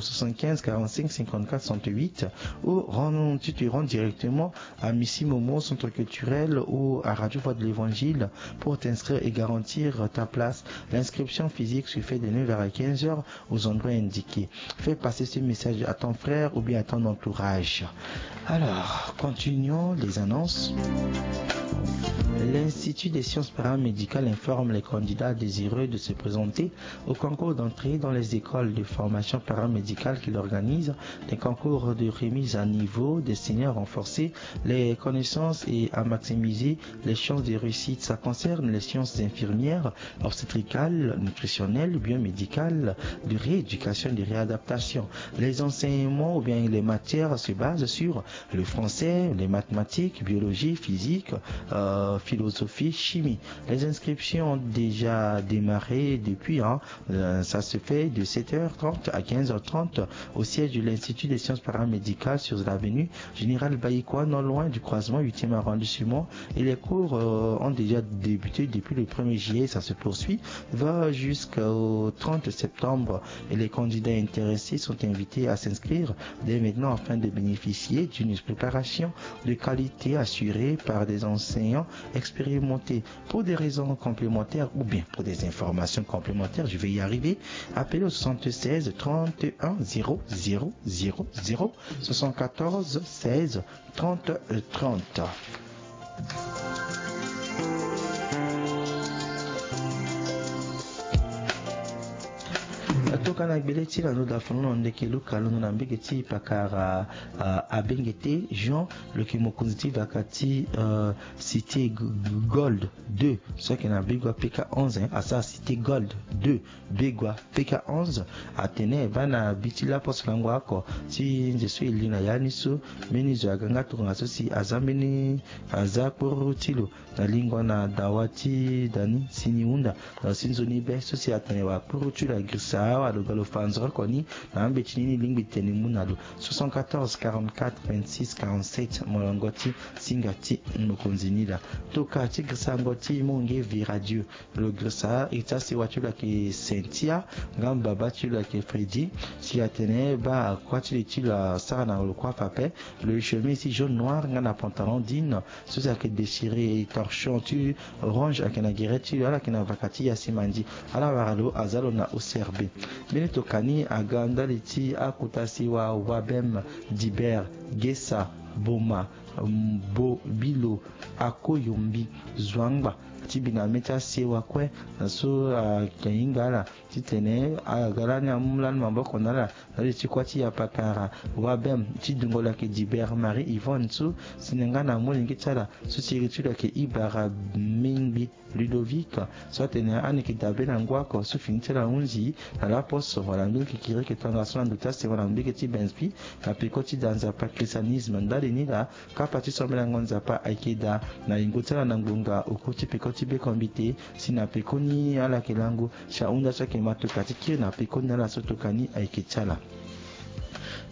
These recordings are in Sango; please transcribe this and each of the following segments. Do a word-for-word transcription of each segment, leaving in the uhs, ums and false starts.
soixante-quinze quarante-cinq cinquante-quatre soixante-huit, ou rends, tu te rends directement à Missy Momo, Centre culturel, ou à Radio Voix de l'Évangile pour t'inscrire et garantir ta place. L'inscription physique se fait de neuf heures à quinze heures aux endroits indiqués. Fais passer ce message à ton frère ou bien à ton entourage. Alors, continuons les annonces. L'Institut des sciences paramédicales informe les candidats désireux de se présenter au concours d'entrée dans les écoles de formation paramédicale qu'il organise, des concours de remise à niveau destinés à renforcer les connaissances et à maximiser les chances de réussite. Ça concerne les sciences infirmières, obstétricales, nutritionnelles, biomédicales, de rééducation, de réadaptation. Les enseignements ou bien les matières se basent sur le français, les mathématiques, biologie, physique, euh, philosophie, chimie. Les inscriptions ont déjà démarré depuis, hein, euh, ça se fait de sept heures trente à quinze heures trente au siège de l'Institut des sciences paramédicales sur l'avenue Général Baïkoa, non loin du croisement huitième arrondissement. Et les cours, euh, ont déjà débuté depuis le premier juillet. Ça se poursuit, va jusqu'au trente septembre. Et les candidats intéressés sont invités à s'inscrire dès maintenant afin de bénéficier d'une préparation de qualité assurée par des enseignants expérimentés. Pour des raisons complémentaires ou bien pour des informations complémentaires, je vais y arriver, appelez au soixante-seize trente et un zéro zéro zéro zéro, soixante-quatorze seize trente trente. Toka na gbele ti lando dafono na ndeke Luka, londo na mbege ti pakara, ah, abenge te Jean, lo yeke mokonzi ti vaka ti, euh, Cité G-, Gold deux, so ayeke na Begua P K onze, hein, asara Cité Gold deux, Begua P K onze. Atene baa na bi ti laposo lango oko ti nze so e li na ya ni so, mbeni zo aga nga tongana so si aza mbeni, aza kpuru ti lo na lingua na dawa ti da ni si ni hunda na lo si nzoni be so si atene wakpuru ti lo agirisa awalo ga lo fa nzoni oko ni na ambeti ni ni lingbi tene mu na lo. Soixante-quatorze quarante-quatre vingt-six quarante-sept, molongo ti singa ti mokonzi ni laa. Toka ti girisango ti Monge Viradio, lo girisa iri ti asewa ti lo ayeke Cynthia, nga mbaba ti lo ayeke Freddy. Si atene baa akuâ ti li ti lo asara na lo kuâ fa ape, lo chemise ti jaune noir nga na pantalon jean so si ayeke déchiré, torchon ti orange ayeke na gere ti lo, ala yeke na vaka ti yasimandi. Ala wara lo aza lo na O C R B. Mbeni toka ni aga ndali ti akota sewa Wabem, Diber, Gesa, Boma, Mbo, Bilo, Akoyombi, Zwangba, ti bi na mê ti asewa kue na so ayeke hinga ala titene aga lani amu lani maboko na ala na li ti kuâ ti yapakara. Wabem ti dungo lo ayeke Diber Marie Yvonne so si na nga na molenge ti ala so si iri ti lo ayeke Ibara Mingbi Ludovic, so atene ani yeke dabe na ngu oko so fini ti ala ahunzi na laposo wala mbege kikiriki tongaso na ndo ti asewa na mbege ti Benspi na peko ti da nzapa christianisme. Ndali ni laa kapa ti sombelango nzapa ayeke daa na yingo ti ala na ngbonga oku ti peko ti bekombite. Si na pekoni ala yeke lango si ahunda so ayeke ma toka ti kiri na pekoni na ala so toka ni ayeke ti ala.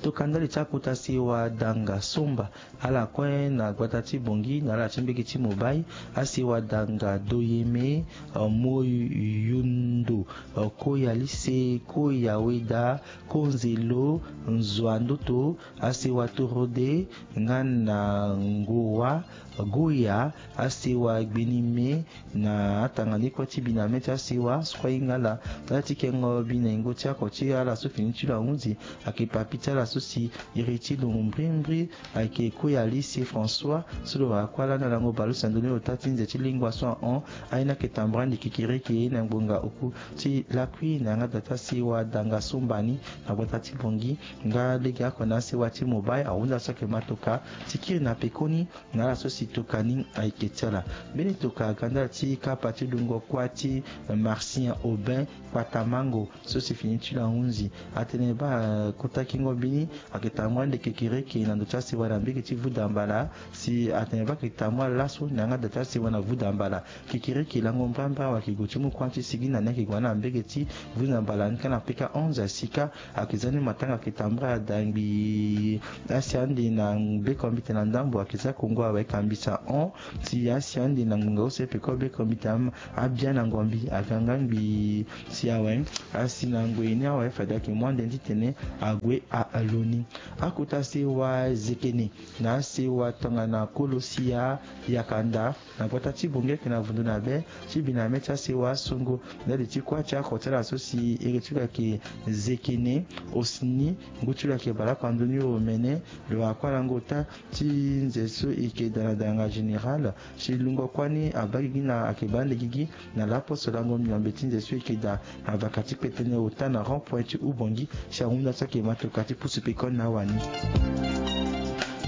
Toka ndali ti akota sewa danga somba ala kue na gbata ti Bongi na ala ti mbege ti Mobai, asewa danga Doyeme, eh, Moyundo, eh, Koya Lise, Koya Weda, Konzelo, Nzwa Ndoto, asewa Torode, nga na Ngowa, Goya, asewa Gbenime, na atanga ni kue ti bi na mê ti asewa so kue ahinga ala. Ala ti kengo bi na yingo ti ako ti ala so fini ti lo ahunzi ayeke papi ti ala so si iri ti lo mbrimbri ayeke Koya Lise François so lo wara kuâ lani na lango bale use na ndoni ota ti nze ti lingua so ahon. Aye ni ayeke tambara ande kikiriki na ngbonga oku ti lakui na yanga da ti asewa danga somba ni na gbata ti Bongi. Nga legeoko na asewa ti Mobai ahunda so ayeke ma toka ti kiri na pekoni na ala so si toka ni ayeke ti ala. Mbeni toka aga ndali ti kapa ti lungo kuâ ti Marcien Aubin Kpatamango so si fini ti lo ahunzi. Atene baa kota kingo mbeni Ayeke tambula ande kekereke na ndo ti asewa na mbege ti vuda mbala. Si atene baa ayeke tambula laso na yanga da ti asewa na vuda mbala. Kekereke lango mbrambra awe ayeke gue ti mu kuâ ti sigi na ni ayeke gue na mbege ti vuda mbala ni kâ na peka onze ya sika. Ayeke za ni matanga ayeke tambula da ngbii. Asi ande na bekombite na ndambo ayeke za kongo awe kambisa hon. Si asi ande na ngbonga use peko bekombite abia na ngombi aga nga ngbii. Si awe asi na ngoi ni awe fade ayeke mu ande ti tene ague alo ni. Akota sewa zekene na asewa tongana kolo sia yakanda na gbata ti bongi ayeke na vundu na be ti bi na me ti asewa songo. Ndali ti kuâ ti ako ti ala so si iri ti lo ayeke zekene. Osini ngu ti lo ayeke baleoko na ndoni omene. Lo akuâ lango ota ti nze so eke da na danga général. Si lungo kuâ ni abaa gigi na ayeke baa ande gigi na laposo lango miombe ti nze so eke da na vaka ti kpetene ota na rond point ti ubongi. Si ahunda so ayeke matoka ti pusu pekoni na awani.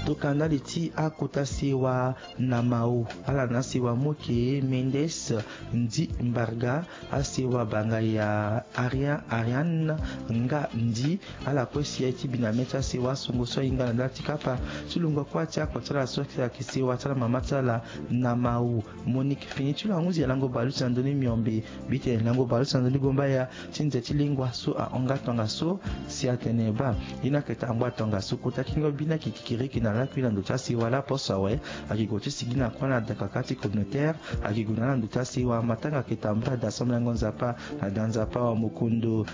Tokana ndali ti akota sewa na mao ala na asewa moke mendes ndi mbarga. Asewa banga ya arian arian nga ndi. Ala kue si aye ti bi na me ti asewa songo so ahinga na ndali ti kapa ti lungo kuâ ti ako ti ala so ayeke sewa ti ala mama ti ala na mao. Monique fini ti lo ahunzi ya lango balusi na ndoni miombe. Mbi tene lango balusi na ndoni gombaya ti nze ti lengua so ahon nga tongaso. Si atene baa ye ni ayeke tambula tongaso kota kingo bi ni ayeke kikiriki na lakui na ndo ti asewa laposo awe. Ayeke gue ti sigi na kuâ na dakaka ti communautaire. Ayeke gue na ala na ndo ti asewa matanga ayeke tambula da asambela yango nzapa na da nzapa wa mokondo.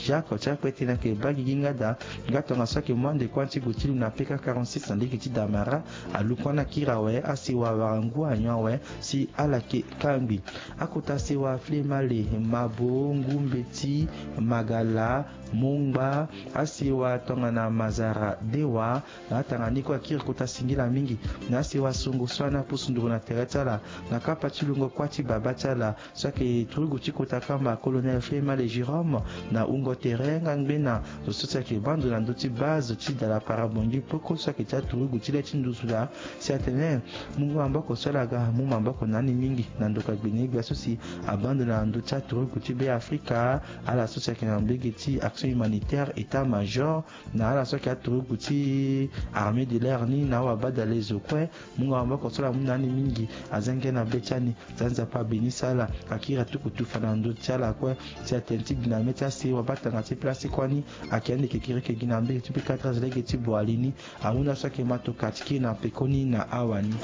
Jacques ti akpete ni ayeke baa gigi nga da nga tongaso ayeke mu ande kuâ ti gue ti lu na peka quarante-six na lege ti damara. Alu kuâ ni akiri awe asewa wara ngu anyon awe. Si ala yeke kangbi akota sewa flemale mabo ngumbeti magala mongba asewa tongana mazara dewa. Na atanga ni kue akiri kota singila mingi na asewa songo so ani apusu nduru na tere ti ala na kapa ti lungo kuâ ti baba ti ala. So ayeke turugu ti kota kamba colonel flemale jérôme na wungo tere nga ngbena zo so si ayeke baa ndo na ndö ti base ti dala parabongi poko so ayeke ti aturugu ti le ti nduzu laa. Si atene mu ngu maboko so ala ga mu maboko na ni mingi na ndoka gbene gbia so si abaa ndo na ndö ti aturugu ti be afrika. Ala so si ayeke na mbege ti action humanitaire état major na ala so ayeke aturugu ti armée de l'air ni na awabadale zo kue. Mu ngu maboko so ala mu na ni mingi. Aza ngia na be ti ani. Za nzapa abeni sala akiri atuku tufa na ndö ti ala kue. Si atene ti bi na me ti asewa baa tanga ti place ti kuâ ni. Ayeke ande kekireke gi na mbege ti pika treize lege ti boali ni. Ahunda so ayeke matoka ti kiri na pekoni na awani.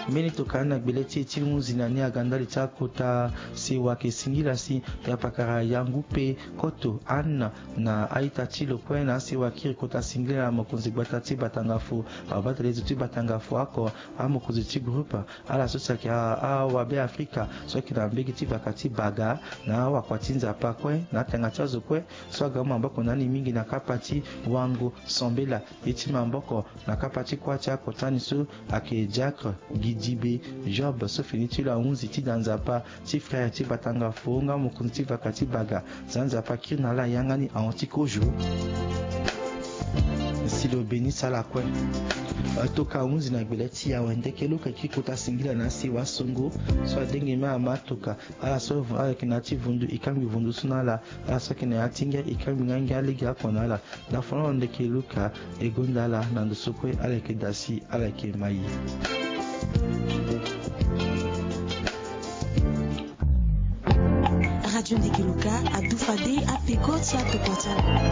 Mbeni tokani na gbele ti e ti hunzi na ni aga ndali ti akota sewa ayeke singila si ya pakara yangu pe koto anne na a-ita ti lo kue na asewa akiri kota singila na mokonzi gbata ti batangafo. Abatelezo ti batangafo oko amokonzi ti groupe ala so si ayeke awabe afrika so ayeke na mbege ti vaka ti baga na awakua ti nzapa kue na atanga ti azo kue. So aga mu maboko na ni mingi na kapa ti wango sambela ye ti maboko na kapa ti kuâ ti akota ni so ayeke diacre gidibe job so fini ti lo ahunzi ti da nzapa ti frère ti batangafo nga mokonzi ti vaka ti baga. Za nzapa akiri na ala yanga ni ahon ti kozo. Si lo beni sala kue. Toka ahunzi na gbele ti e awe ndeke lo ka kiri kota singila na asewa songo so adenge me ama toka. Ala so ayeke na ya ti vundu e kangbi vundu so na ala. Ala so ayeke na ya ti ngia e kangbi nga ngia lege oko na ala. Dafono ndeke luka e gonda ala na ndo so kue ala yeke da si ala yeke mai. Radio ndeke luka adufa de apeko ti atokua ti ala.